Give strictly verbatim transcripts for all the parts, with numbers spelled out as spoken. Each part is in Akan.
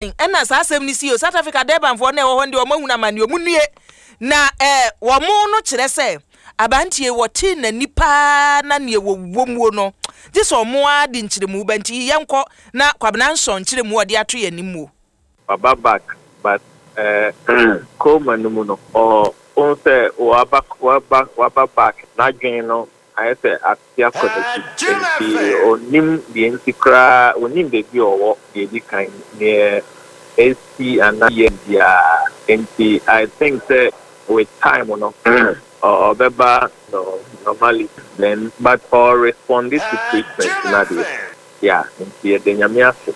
Ɛna saa asɛm no sii o, South Africa Durbanfoɔ no a ɛwɔ hɔ no deɛ wɔn ahunu amaneɛ, wɔn nnue. Na ɛɛ wɔn no kyerɛ sɛ abanteɛ wɔtee n'ani paa na neɛ wɔwɔ muo no gye sɛ wɔn ara de nkyerɛmu ba nti yɛnkɔ na Kwabena Nsɔn nkyerɛmu a ɔde ato yɛn anim muo. Waba back but eh coma no mu no ɔɔ wohu sɛ waba waba waba back n'adwene no ayɛ sɛ ate akɔ n'akyi nti ɔnnim deɛ nti koraa ɔnnim baabi a ɔwɔ deɛ ɛdi kan deɛ ɛsi anaa yɛ biara nti I think sɛ with time no ɔbɛba no normally then but ɔ respond to treatment na deɛ yeah nti yɛda Nyame ase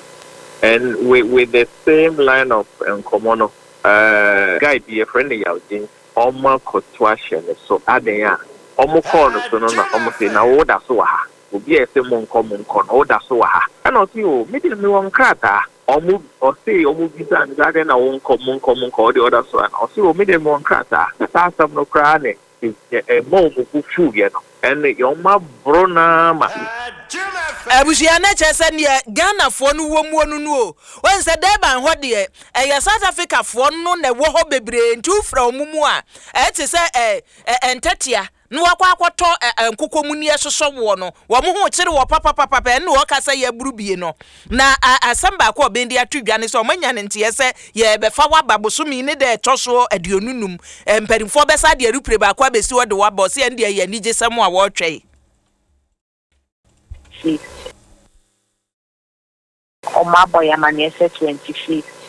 and with with the same line of nkɔmmɔ no uh, guy bi yɛfrɛ no Yaw Gyens ɔmo akɔto ahyɛ ne so adɛn a ɔmo kɔɔ no so no na ɔmo se na wo da so wɔ ha obi a ɛsɛ mo nkɔ mo nkɔ no wo da so wɔ ha ɛna ɔse o me deɛ mewɔ nkrataa ɔmo ɔse ɔmo bisa no sɛ adɛn na wo nkɔ mo nkɔ mo nkɔ ɔde ɔda so ana ɔse o me deɛ mewɔ nkrataa saa asɛm no koraa ne ɛma ɔmo bo fuiɛ no ɛne ɔmo aboro naa ma Abusua no kyerɛ sɛ neɛ Ghanafoɔ no wɔ muo no no o wɔn sɛ Durban hɔ deɛ ɛyɛ South Africafoɔ no na ɛwɔ hɔ bebree nti wofura wɔn mu a ɛte sɛ ɛ ɛ ntɛtea na wakɔ akɔtɔ ɛ nkokɔ mu ni ɛsosɔ woɔ no wɔn ho kyerɛ wɔ papapapa ɛne wɔka sɛ yɛaburu bie no na asɛm baako a ɔbɛn de ato dwa ne sɛ ɔmanya ne nteɛ sɛ yɛbɛfa waba bosomi ne dɛ ɛtɔ so aduonu num mpanimfoɔ bɛsa de arupire baako abɛsi hɔ de waba ɔsɛ ɛn deɛ yɛ anigye sɛm a wɔretwɛn. Ɔmo abɔ yɛ amanneɛ sɛ twenty fifth.